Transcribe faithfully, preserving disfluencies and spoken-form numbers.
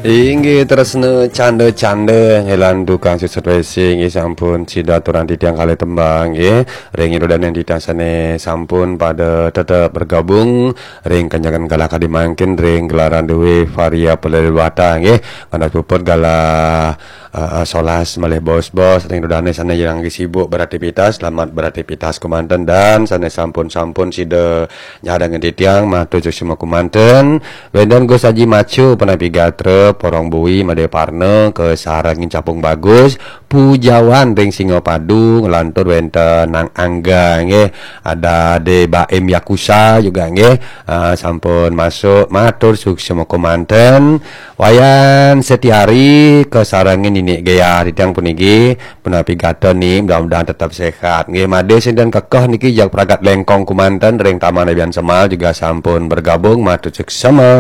Inggih tresna canda-canda nggih lan tukang suksut wesi nggih sampun sida aturang titiang kalih tembang nggih. Ring ida dané titiang sané sampun pada tetep bergabung ring kanjengan galah kadi mangkin ring gelaran Dewi Varia Pelelwata nggih. Kandas puput galah eh, eh, solas malih bos-bos ring ida dané sané ngiring sibuk beraktivitas, selamat beraktivitas kemanten dan sané sampun-sampun sida nyarengin titiang matur suksma kemanten. Wénten Gus Aji Macu, punapi gatra, Porong Bui, Madé Parna, kasarengin Capung Bagus, Pujawan ring Singapadu, nglantur wénten Nang Angga nggih, ada Dé Baim Yakusa juga nggih, ah, sampun masuk matur suksma kemanten. Wayan Setiari kasarengin Nini Gea titiang puniki, punapi gatra Ni, mudah-mudahan tetap sehat. Nggih, Madé sinten kekeh niki jag pragat lengkong kemanten ring Taman Abian Semal juga sampun bergabung matur suksma.